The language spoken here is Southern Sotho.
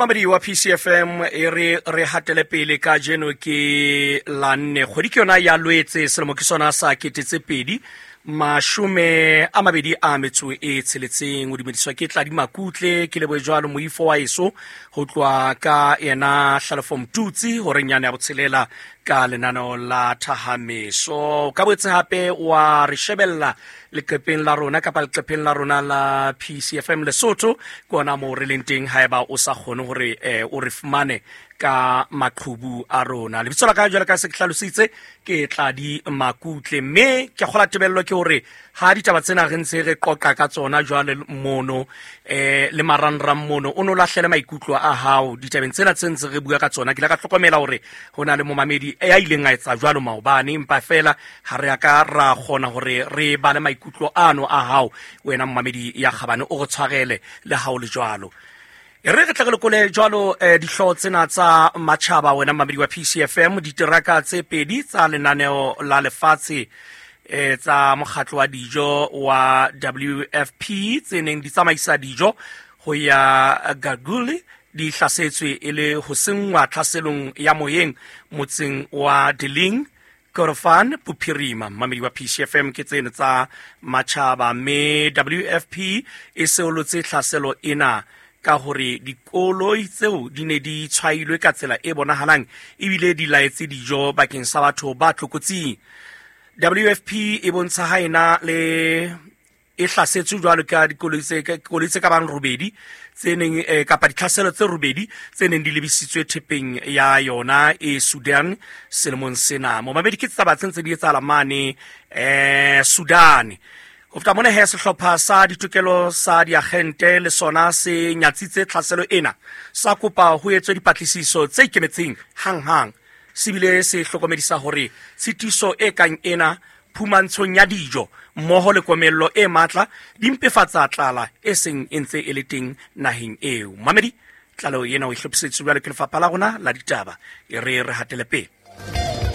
Mamedi wa PCFM, e re re hatele pele. Ka jeno ke la nne, kgwedi ke yona ya Lwetse, selemo ke sona sa 2026. O dumediswa ke Tladi Makutle. Ke leboe jwalo moifo wa eso ho tloha ka yena Hlalefo Mtutsi horeng yane ya botshelela ka lenaneo la Thahameso. Ka boetse hape wa re shebella leqepheng la rona kapa leqepheng la rona la PCFM Lesotho, ke ona moo re leng teng. Haeba o sa kgone hore o re fumane ka maqhubu a rona, lebitso la ka jwale ka se ke hlalositse ke Tladi Makutle, mme ke kgola tebello ke hore ha ditaba tsena re ntse re qoqa ka tsona jwale mono le marangrang mono, o no lahlele maikutlo a hao ditabeng tsena tse ntse re bua ka tsona. Ke ile ka hlokomela hore ho na le momamedi ya ileng a etsa jwalo maobane, empa fela ha re ya ka ra kgona hore re bale maikutlo ano a hao, wena momamedi ya kgabane. O re tshwarele le ha o le jwalo. E re re tle re lekole jwalo dihlooho tsena tsa matjhaba, wena mamedi wa PCFM. Diteraka tse pedi tsa lenaneo la lefatshe tsa mokgatlo wa dijo wa WFP tse neng di tsamaisa dijo ho ya Gaguli di hlasetswe e le ho senngwa tlhaselong ya moyeng motseng wa Deling, Kordofan Bophirima. Mamedi wa PCFM, ke tseno tsa matjhaba, mme WFP e seolotse tlhaselo ena ka hore dikoloi tseo di ne di tshwailwe ka tsela e bonahalang ebile di laetse dijo bakeng sa batho ba tlokotsing. WFP e bontsha ha ena le e hlasetswe jwalo ka dikoloi tse ka bang robedi tse neng kapa ditlhaselo tse robedi tse neng di lebisitswe thepeng ya yona e Sudan selemong sena. Momamedi, ke taba tse ntse di etsahala mane Sudan. Ho feta mona he, sehlopha sa ditokelo sa diagente le sona se nyatsitse tlhaselo ena, sa kopa ho etswe dipatlisiso tse ikemetseng hang-hang. Se bile se hlokomedisa hore tshitiso e kang ena phumantshong ya dijo mmoho le komello e matla di mpefatsa tlala e seng e ntse e le teng naheng eo. Mamedi, tlaleho ena o e hlophiseditswe jwalo ke lefapha la rona la ditaba. E re re hatele pele.